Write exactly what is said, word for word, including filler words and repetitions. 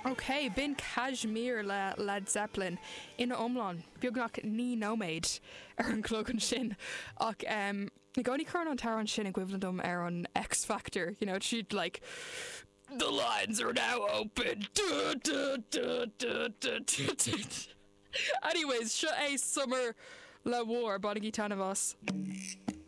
Ok, b'in Kashmir le Led Zeppelin ina iomlán beagnach naoi nóiméad ar an chlog ansin ach um, i gcónaí cuireann an t-amhrán sin i gcuimhne dom ar an X Factor, you know, siad like The lines are now open. Du, du, du, du, du, du, du. Anyways, seo é Summer le War bainigí taitneamh as.